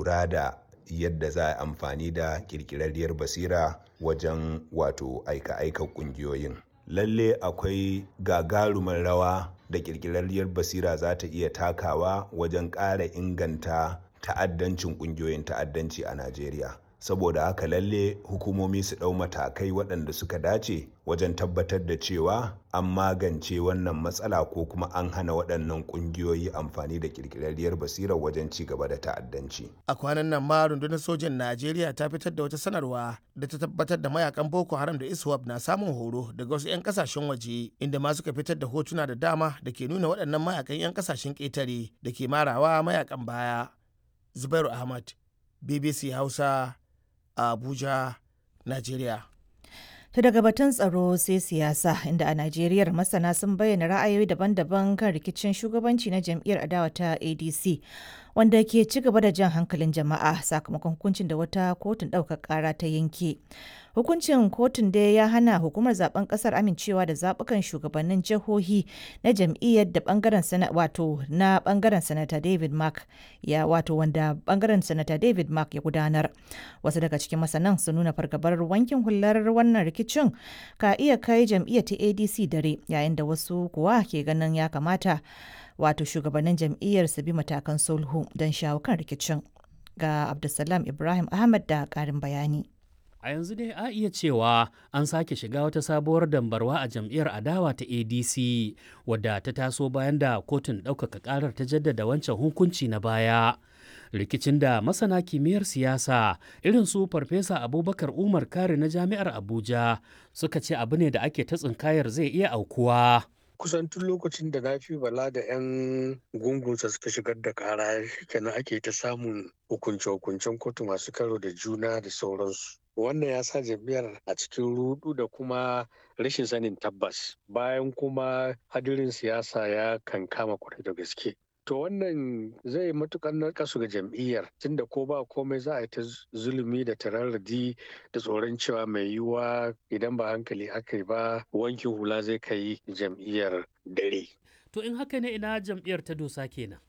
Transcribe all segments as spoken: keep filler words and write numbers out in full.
lura da yadda za a amfani da ƙirƙirarriyar basira wajen wato aika-aikar ƙungiyoyin. Lalle akwai gagarumar rawa da ƙirƙirarriyar basira za ta iya takawa wajen ƙara inganta ta'addancin ƙungiyoyin ta'addanci a Najeriya. Saboda haka lalle hukumomi su ɗau matakai waɗanda suka dace wajen tabbatar da cewa an magance wannan matsala ko kuma an hana waɗannan ƙungiyoyi amfani da ƙirƙirarriyar basirar wajen ci gaba da ta'addanci. A kwanan nan ma rundunar sojan Najeriya ta fitar da wata sanarwa da ta tabbatar da mayakan Boko Haram da ISWAP na samun horo daga wasu 'yan kasashen waje, inda ma suka fitar da hotuna da dama da ke nuna waɗannan mayakan 'yan kasashen ƙetare da ke marawa mayakan baya. Zubairu Ahmad, B B C Hausa, Abuja, Najeriya. To daga batun tsaro sai siyasa, inda a Najeriya masana sun bayyana ra'ayoyi daban-daban kan rikicin shugabanci na jam'iyyar adawa ta A D C, wanda ke ci gaba da jan hankalin jama'a sakamakon hukuncin da wata kotun ɗaukar ƙara ta yanke. Hukuncin kotun dai ya hana hukumar zaben kasar amincewa da zaɓukan shugabannin jihohi na jam'iyyar da bangaren sana wato na bangaren Sanata David Mark ya wato wanda bangaren Sanata David Mark ya gudanar. Wasu daga cikin masanan sun nuna fargabar wankin hular wannan rikicin ka iya kai jam'iyyar ta A D C dare, yayin da wasu kuwa ke ganin ya kamata wato shugabannin jam'iyyar su bi matakan sulhu don shawo kan rikicin. Ga Abdulsalam Ibrahim Ahmad da ƙarin bayani. A yanzu dai a iya cewa an sake shiga wata sabuwar dambarwa a jam'iyyar adawa ta A D C, wadda ta taso bayan da kotun ɗaukaka ƙarar ta jaddada wancan hukunci na baya. Rikicin da masana kimiyyar siyasa irin su Farfesa Abubakar Umar Kari na Jami'ar Abuja suka ce abu ne da ake ta tsinkayar zai iya aukuwa. Kusan tun lokacin da Nafi Bala da 'yan gungunsa suka shigar da kara kenan ake ta samun hukunce-hukuncen kotu masu karo da juna da sauransu. Wannan ya sa jam'iyyar a cikin rudu da kuma rashin sanin tabbas, bayan kuma hadirin siyasa ya kankama kwarai da gaske. To wannan zai matukar narkasu ga jam'iyyar, tunda ko ba komai za a yi ta zulumi da tararradi da tsoron cewa mai yiwuwa idan ba hankali aka yi ba, wankin hula zai kai jam'iyyar dare. To in haka ne, ina jam'iyyar ta dosa kenan?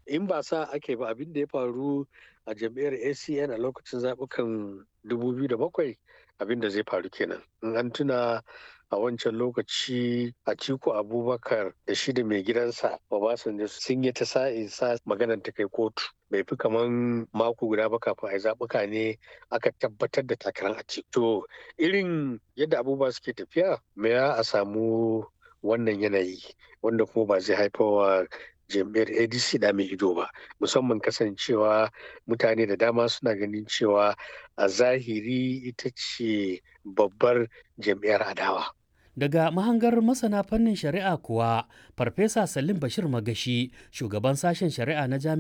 In ba sa ake ba, abin da ya faru a jam'iyyar A C N a lokacin zaɓukan dubu biyu da bakwai, abin da zai faru kenan. In an tuna, a wancan lokaci Atiku Abubakar da shi da mai gidansa Obasanjo sun yi ta sa'in sa maganar ta kai kotu. Bai fi kaman mako guda ba kafin a yi zaɓuka ne aka tabbatar da takarar Atiku. To irin yadda abubuwa suke tafiya, me ya a samu wannan yanayi wanda kuma ba zai haifarwa jam'iyyar A D C da mai ido ba, musamman kasancewa mutane da dama suna ganin cewa a zahiri ita ce babbar jam'iyyar adawa. Daga mahangar masana fannin shari'a kuwa, Farfesa Salim Bashir Magashi, shugaban sashen shari'a na Jami'ar